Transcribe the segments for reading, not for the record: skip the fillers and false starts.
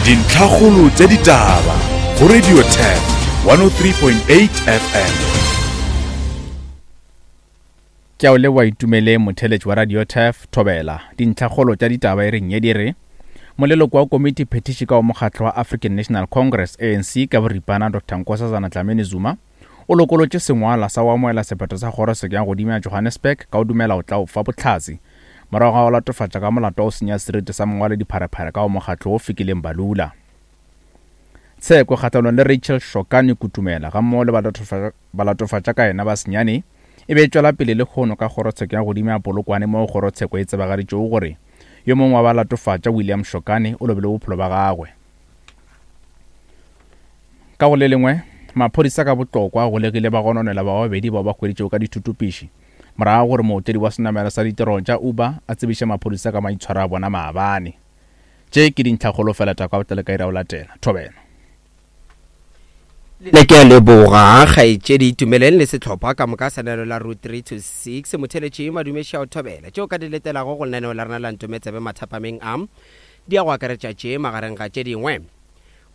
Dintlhakgolo tša ditaba go Radio Turf 103.8 FM. Ke a o leboa Itumeleng motheeletši wa Radio Turf, Thobela. Dintlhakgolo tša ditaba e reng ye di re, Moleloko wa komiti phethiši ka wa mokgatlo wa African National Congress, ANC, ka boripana Doctor Nkosazana Dlamini Zuma o lokolotše sengwalwa sa go amohela sephetho sa kgorotsheko ya godimo ya Johannesburg ka go dumela go tla o fa bohlatse morago ga go latofatša ka molato wa go senya seriti sa mongwaledi-pharephare ka go mokgatlo wo Fikileng Balula. Tsheko kgahlanong le Rachel Shokane Kutumela gammogo le balatofatša ka yena ba senyane e be e tšwela pele lehono ka kgorotsheko ya godimo ya Polokwane moo kgorotsheko e tsebagaditšego gore yo mongwe wa balatofatša William Shokane o lobile bophelo ba gagwe. Ka go le lengwe, maphodisa ka botlokwa a golegile bagononelwa ba babedi bao ba hweditšego ka dithutupiši morago ga gore mootledi wa senamelwa sa ditirelo tša Uber a tsebiše maphodisa ka maitshwaro a bona maabane. Tše ke dintlhakgolo fela tša kwa botlalo ka iri ya go latela. Thobela. Le ke a leboga kgaetšedi Itumeleng le sehlopha ka moka sa lenaneo la Route 3 to 6. Motheeletši Madume Šao Thobela. Tšeo ka di letelago go lenaneo la rena la Ntometsebe mathapameng a di ya go akaretša tše magareng ga tše dingwe.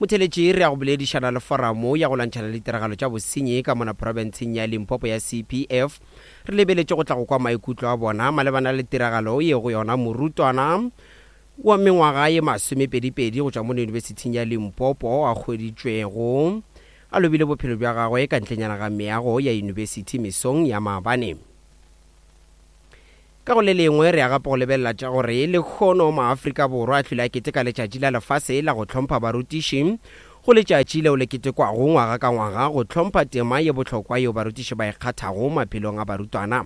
Motheeletši re ya go boledišana le foramo ya go lwantšhana le ditiragalo tša bosenyi ka mona profenseng ya Limpopo ya CPF. Re lebeletše go tla go kwa maikutlo a bona malebana le tiragalo ye go yona morutwana wa mengwaga ye masomepedipedi go tšwa mono Yunibesithing ya Limpopo a hweditšwego a lobile bophelo bja gagwe ka ntlenyana ga meago ya yunibesithi mesong ya maabane. Ka go le lengwe, re ya gape go lebelela tša gore lehono maAfrika Borwa a hlwile a keteka Letšatši la Lefase la go Hlompha Barutiši, go letšatši leo le ketekwago ngwaga ka ngwaga go hlompha tema ye bohlokwa yeo barutiši ba e kgathago maphelong a barutwana.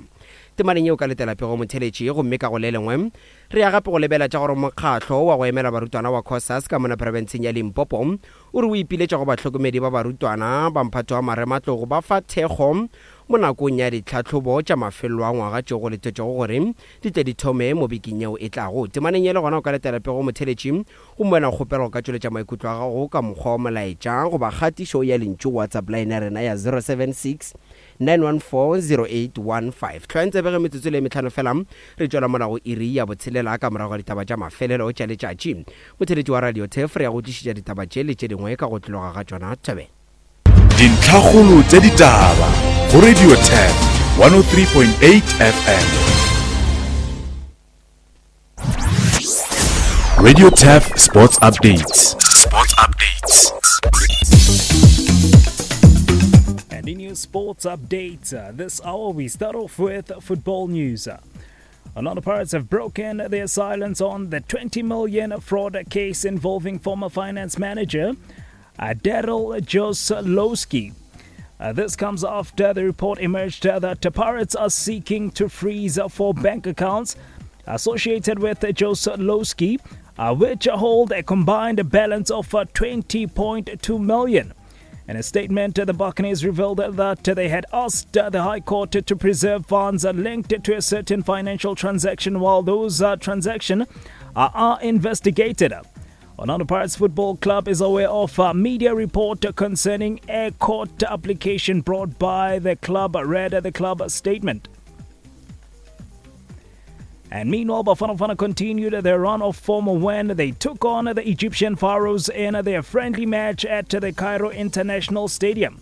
Temaneng yeo ka letela pego motheletši, gomme ka go le lengwe, re ya gape go lebela tša gore mokgatlo wa go emela barutwana wa Cosas ka mona profenseng ya Limpopo o re o ipiletša go bahlokomedi ba barutwana ba mphato wa marematlou go ba fa thekgo Mo nakong ya ditlhahlobo tša mafelelo a ngwaga tšeo go letetšwego gore di tle di thome mo bekeng yeo e tlago. Temaneng ye le gona o ka letela pego motheeletši gomme wena o kgopelwa go ka tšweletša maikutlo a gago ka mokgwa wa molaetša goba kgatišo ya lentšu go WhatsApp line ya rena ya 076 914 0815. Hlwayang tsebe ge metsotso e le ye mehlano fela re tšwela mola go iri ya botshelela ka morago ga ditaba tša mafelelo tša letšatši. Motheeletši wa Radio Turf re ya go tlišetša ditaba tše le tše dingwe ka go tloga ga tšona. Thobela. Dintlhakgolo tša ditaba go Radio Turf 103.8 FM. Radio Turf Sports Updates. Sports Updates. And in your sports updates, uh, this hour we start off with football news. Orlando Pirates have broken their silence on the 20 million fraud case involving former finance manager uh, Daryl Josiolowski. Uh, this comes after the report emerged that the Pirates are seeking to freeze four bank accounts associated with Josiolowski, uh, which hold a combined balance of uh, 20.2 million. In a statement, the Buccaneers revealed that they had asked the High Court to preserve funds linked to a certain financial transaction while those transactions are investigated. Orlando Pirates Football Club is aware of a media report concerning a court application brought by the club, read the club statement. And meanwhile, Bafana Bafana continued their run of form when they took on the Egyptian Pharaohs in their friendly match at the Cairo International Stadium.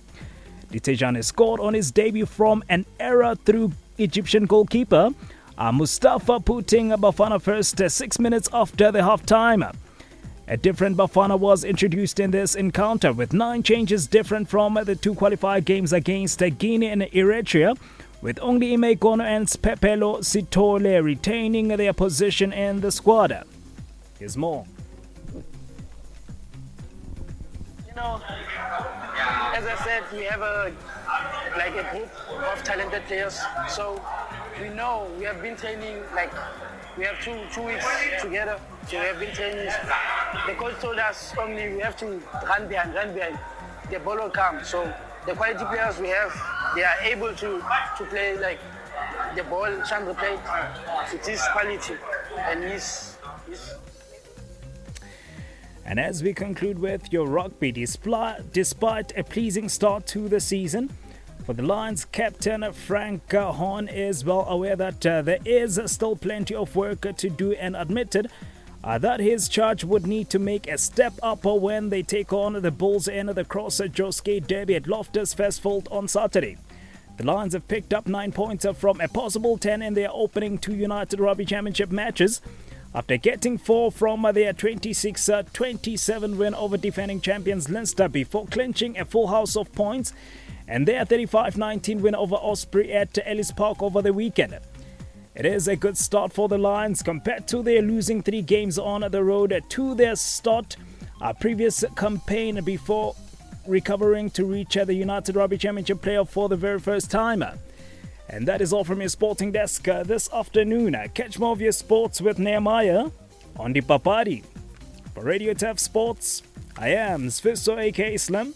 Dithejane scored on his debut from an error through Egyptian goalkeeper uh, Mustafa putting Bafana first uh, six minutes after the halftime. A different Bafana was introduced in this encounter with nine changes different from the two qualifier games against Guinea and Eritrea, with only Ime Kono and Pepelo Sithole retaining their position in the squad. Here's more. You know, as I said, we have a like a group of talented players. So we know we have been training like we have two two weeks together. So we have been training. The coach told us only we have to run behind, run behind. The ball will come. So the quality players we have, they are able to to play like the ball Chandra played. It is quality and he's, he's And as we conclude with your rugby, despite a pleasing start to the season, for the Lions, captain Frank Horn is well aware that uh, there is still plenty of work to do and admitted that his charge would need to make a step up when they take on the Bulls in the Cross Josky Derby at Loftus Versfeld on Saturday. The Lions have picked up 9 points from a possible 10 in their opening two United Rugby Championship matches after getting 4 from their 26 27 win over defending champions Leinster before clinching a full house of points and their 35 19 win over Osprey at Ellis Park over the weekend. It is a good start for the Lions compared to their losing three games on the road to their start a previous campaign before recovering to reach the United Rugby Championship playoff for the very first time. And that is all from your sporting desk uh, this afternoon. Catch more of your sports with Nehemiah on the Papadi. For Radio Tef Sports, I am Sfiso aka Slim,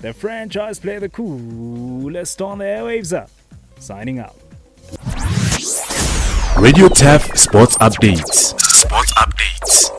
the franchise player, the coolest on the airwaves. Signing out. Radio Tef Sports Updates. Sports Updates.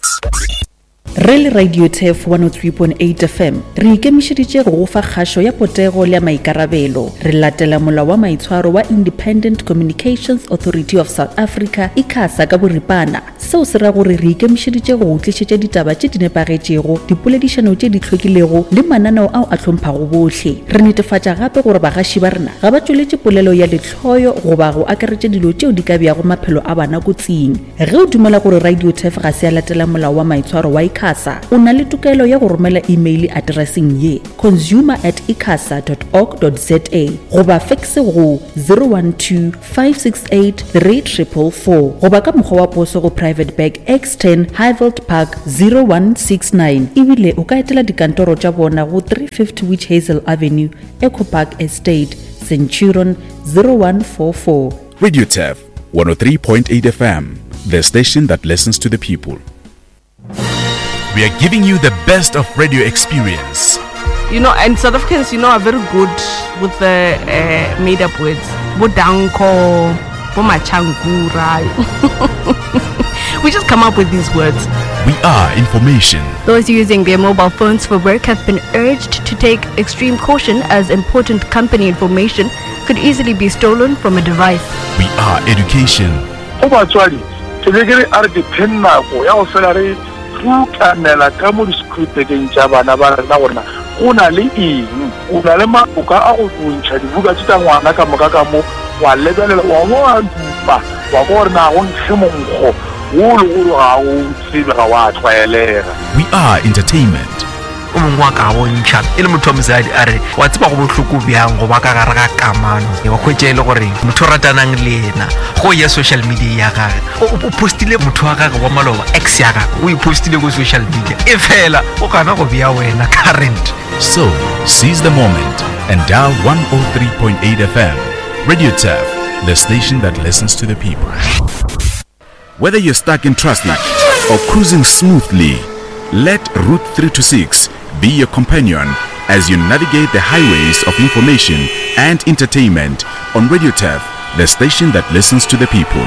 Re le Radio Turf 103.8 FM, re ikemišeditše go go fa kgašo ya potego le ya maikarabelo. Re latela molao wa maitshwaro wa Independent Communications Authority of South Africa, ICASA, ka boripana. Seo se ra gore re ikemišeditše go go tlišetša ditaba tše di nepagetšego, dipoledišano tše di hlwekilego le mananeo ao a hlomphago bohle. Re netefatša gape gore bagaši ba rena ga ba tšweletše polelo ya lehloyo goba go akaretša dilo tšeo di ka beago maphelo a bana kotsing. Ge o dumela gore Radio Turf ga se ya latela molao wa maitshwaro wa ICASA, o na le tokelo ya go romela imeile atereseng ye, consumer at icasa dot org dot za goba fekse go 012 568 3444 goba ka mokgwa wa poso go Private Bag X10 Highveld Park 0169. Ebile o ka etela dikantoro tša bona go 350 Witch Hazel Avenue, Echo Park Estate, Centurion 0144. Radio Turf 103.8 FM, the station that listens to the people. We are giving you the best of radio experience. You know, and South Africans, you know, are very good with the uh, made up words. Bodanko, Bomachangura. we just come up with these words. We are information. Those using their mobile phones for work have been urged to take extreme caution as important company information could easily be stolen from a device. We are education. Go batswadi, ke be ke re a re dipheng nako ya go fela re tlukanela ka mo di-screwpekeng tša bana ba rena gore na go na le eng. O na le maoka a go ntšha dibuka tše tša ngwana ka moka ka mo, wa lebelela, wa bo wa dupa, wa kwa gore na go nkge monkgo wo le gore ga o tsebe, ga wa tlwaelega. We are entertainment. O mongwe wa ka bontšha e le motho wa mosadi a re wa tseba go bohloko bjang go ba ka gare ga kamano wa hwetša e le gore motho o ratanang le yena go ya social media ya gage o postile motho wa gage wa maloba ex ya gage o e postile ko social media e fela o gana go bea wena current. So, seize the moment and dial 103.8 FM. Radio Turf, the station that listens to the people. Whether you're stuck in traffic or cruising smoothly, let Route 326 be your companion as you navigate the highways of information and entertainment on Radio Turf, the station that listens to the people.